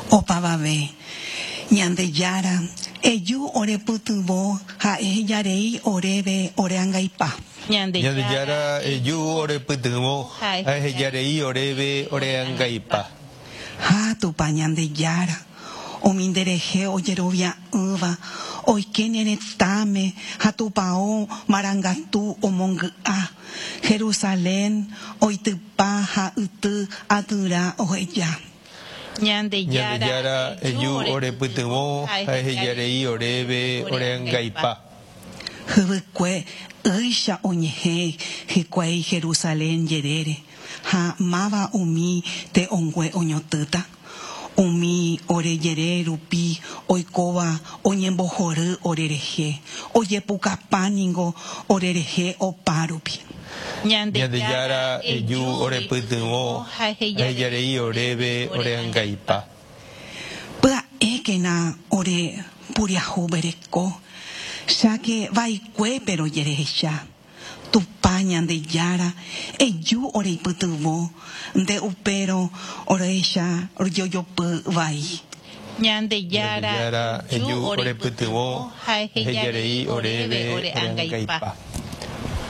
Opavave, Ñandejára, eju ore pytyvõ ha ehejarei oréve ore angaipa. Ñandejára, eju ore pytyvõ ha ehejarei oréve ore angaipa. Ha Tupã Ñandejára, umi nderehe ojerovia'ỹva oike ne retãme ha tupao marangatu omongy'a, Jerusalén oitypa ha yty atyra oheja. Ñandejára, eju ore pytyvõ ha ehejarei oréve ore angaipa. Hyvykue ýicha oñehẽ hikuái Jerusalén jerére, ha máva umi te'õngue oñotỹta? Umi ore jere rupi oikóva oñembohory orerehe, ojepukapa ningo orerehe opárupi. Ñandejára, eju orepytyvõ ha ehejarei oréve ore angaipa. Pya'ékena ore puriahuvereko, cháke vaikuépe rojerehecha. Tupã Ñandejára, eju oreipytyvõ, nde upérõ orehecha rojejopy vai. Ñandejára, eju orepytyvõ ha ehejarei oréve ore angaipa.